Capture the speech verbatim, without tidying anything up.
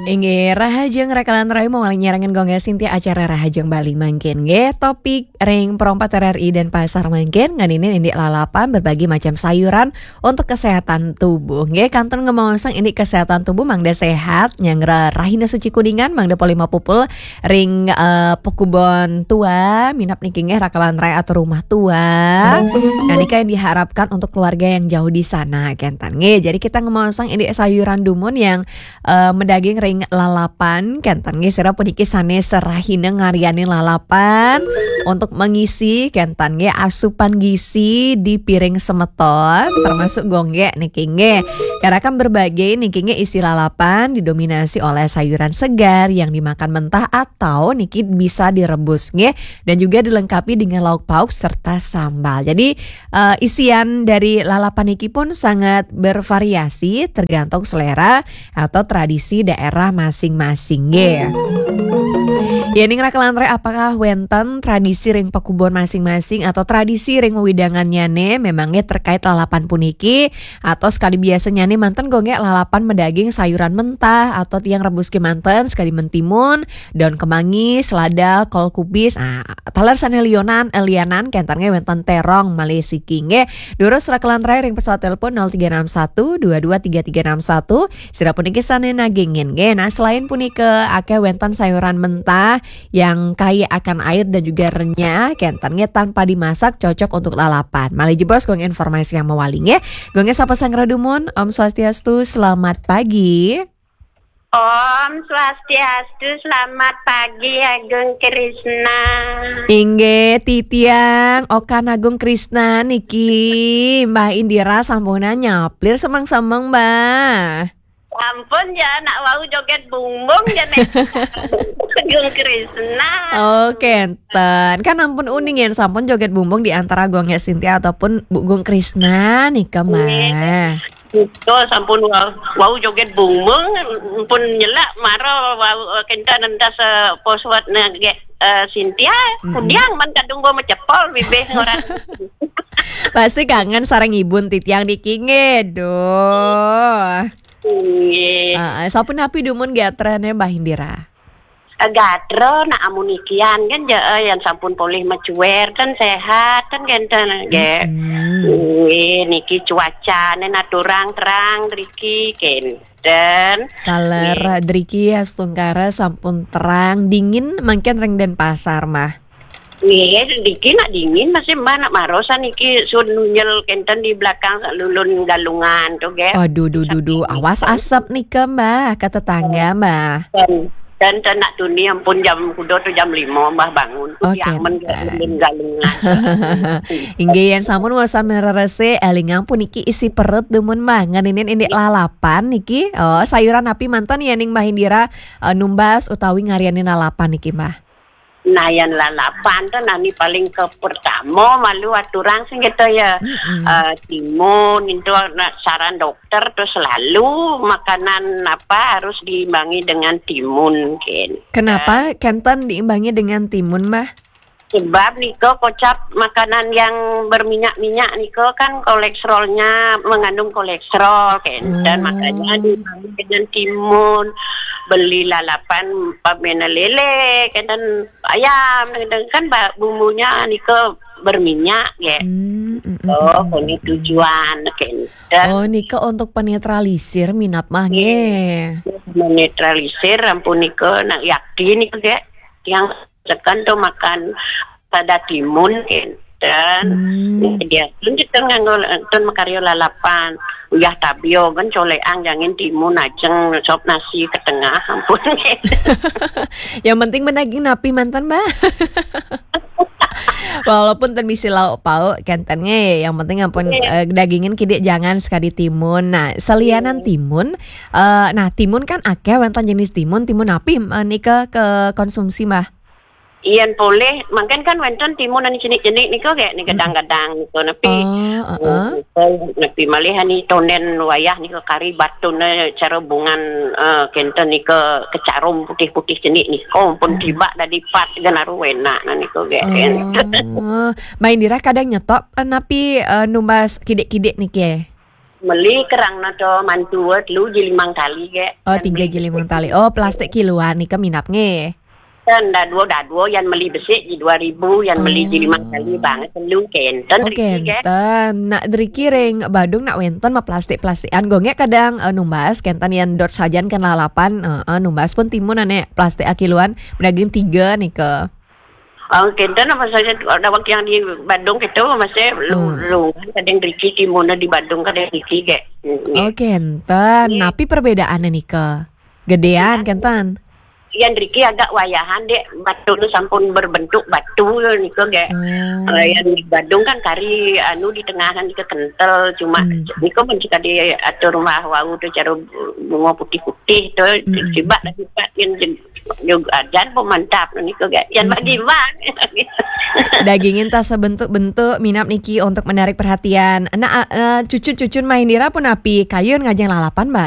Inggih, rahajeng rakalan rai mawali nyarengin Gung Sintia acara Rahajeng Bali mangkin nggih. Topik ring Pro empat R R I Denpasar mangkin nganinin indik lalapan berbagai macam sayuran untuk kesehatan tubuh nggih. Kantun ngemaosang indik kesehatan tubuh mangda sehat, nyanggra rahina suci kuningan mangda polih mapupul ring, eh, pakubon tua, minab niki nggih rakalan rai atau rumah tua. Nah, nika yang diharapkan untuk keluarga yang jauh di sana kenten nggih. Jadi kita ngemaosang indik sayuran dumun yang eh, madaging ring lalapan, kenten nggih sira puniki sané serahina ngaryanin lalapan untuk mengisi kenten nggih asupan gizi di piring semeton, termasuk Gung nggih niki nggih. Karakan berbagai niki nggih isi lalapan didominasi oleh sayuran segar yang dimakan mentah atau niki bisa direbus nggih, dan juga dilengkapi dengan lauk pauk serta sambal. Jadi, eh, isian dari lalapan niki pun sangat bervariasi tergantung selera atau tradisi daerah masing-masing nggih. Yening rakalan rai, apakah wenten tradisi ring pakubon masing-masing atau tradisi ring wewidangannyane memang nggih terkait lalapan puniki, atau sekadi biasanyane manten Gung nggih lalapan madaging sayuran mentah atau tiang rebus kemanten sekadi mentimun, daun kemangi, selada, kol kubis, ah, taler sane lianan, eh, lianan kenten nggih wenten terong malih siki nggih. Durus rakalan rai ring pesawat telepon nol tiga enam satu dua dua tiga tiga enam satu. Sira puniki sane nagingin nggih. Nah, selain punika akeh wenten sayuran mentah yang kaya akan air dan juga renyah, kenten nggih tanpa dimasak cocok untuk lalapan. Malih jebos Gung informasi yang mawali nggih. Gung nggih sapa sanggra dumun, Om Swastiastu, selamat pagi. Om Swastiastu, selamat pagi Agung Krisna. Inggih, titiang Okan Agung Krisna niki, Mbah Indira sampunan nyaplir semeng-semeng, Mbah. Ampun ya, nak wau joget bumbung ya nih. Agung Krisna. Oh, kenten. Kan ampun uning yen sampun joget bumbung di antara Gung nggih Sintia ataupun Bu Gung Krisna nika, Mbah. Betul, sampun wau, wau joget bumbung, pun nyelak mara wau, eh, kenten entas, eh, poswat nge-, eh, Sintia, kudiang man kadung gua macepol bibih orang. Pasti kangen sareng ibun titiang niki nggih, duh. Nggih. Heeh, sapunapi dumun gatrane Mbah Indira? Eh, gatra nak amunikian kan ja, eh, yang sampun polih macuer kan sehat kan kenten nggih. Mm-mm. Nggih, niki cuacane naturang terang driki kenten. Taler nggih. Driki astungkara sampun terang dingin mangkin ring Denpasar mah. Nggih, driki nak dingin masih Mbah nak marosan niki sun nunyel kenten di belakang lulun Galungan tuh nggih. Aduh, duh, duh, duh, awas asap nika Mbah ke tetangga Mbah. Dan, dan nak tuni ampun jam kuda tuh jam lima Mbah bangun. Oh, kenten. Lulun Galungan. Inggih, yen sampun wasan marerese, elingang puniki isi perut dumun Mbah. Ngeninin indik lalapan niki. Oh, sayuran napi manten yening Mbah Indira, eh, numbas utawi ngaryanin lalapan niki Mbah? Nah, yan lalapan tuh nani paling ke pertama malu aturang sing gitu ya. Mm-mm. Eh, timun itu nak saran dokter tuh selalu makanan apa harus diimbangi dengan timun, ken. Kenapa kenten diimbangi dengan timun, Mbah? Sebab niko kocap makanan yang berminyak-minyak niko kan kolesterolnya mengandung kolesterol, kenten. Hmm. Makanya diimbangi dengan timun, beli lalapan pamena lele, kenten ayam, kenten kan ba-, bumbunya niko berminyak ya. Hmm, mm, mm, oh, mm, ini mm, tujuan, kenten. Oh, niko untuk penetralisir minap mah nggih. Menetralisir ampun niko nak yakin niko nggih. Yang tekan tuh makan pada timun kenten. Hmm. Dia pun kita nganggo tun makarya lalapan. Uyah tabio kan coleang jangin timun ajeng sop nasi ke tengah ampun. Yang penting menaging napi mantan, Mbak. Walaupun ten misi lauk pauk kenten nggih, yang penting ampun, iya, eh, dagingin kidik jangan sekadi timun. Nah, selianan, iya, timun, eh, nah timun kan akeh wenten jenis timun, timun napi, eh, nika ke konsumsi, Mbah? Iyan polih, mangkin kan wenten timun anu jenik-jenik nika kayak nih, mm-mm, gadang-gadang nika napi. Oh, heeh. Oh, napi malih ani tonden wayah nika kari batune cara bungan, eh, kenten nika kecarum putih-putih jenik nika pun, mm-mm, tiba dadi pat genaru enak nah nika kayak. Oh, Mbak Indira kadang nyetok, eh, napi, eh, numbas kidik-kidik niki? Meli kerang na to mantu, eh, telu ji limang tali ge. Oh, tiga ji limang tali. Oh, plastik kiluan nika minap nggih. Kan dadua-dadua, yan meli besik ji dua ribu, yan meli ji limang tali bang, telu kenten. Oh, kenten. Nak driki ring Badung nak wenten ma plastik-plastikan. Gongek kadang, eh, numbas kenten yan dot sajan kan lalapan, eh, eh, numbas pun timun ane plastik akiluan, daging tiga nika. Oh, kenten apa saja dawak yang di Badung itu masih lu, hmm. Lu kadang driki timun di Badung kadang driki ge. Oh, kenten. Napi perbedaannya nika? Gedean kenten. Yan driki agak wayahan dek, batu nu sampun berbentuk batu nika ge. Hmm. Uh, yan di Badung kan kari anu di tengahan nika kentel, cuma hmm. Nika pun kita diatur rumah wau tu cara bunga putih-putih tu, hmm. Sibak lah sibak yan juga jan pun mantap nika ge. Yan hmm. Bagi bang. Dagingin tas sebentuk-bentuk minap niki untuk menarik perhatian. Nah, uh, cucun-cucun main dira pun api kayun ngajeng lalapan, Mbak.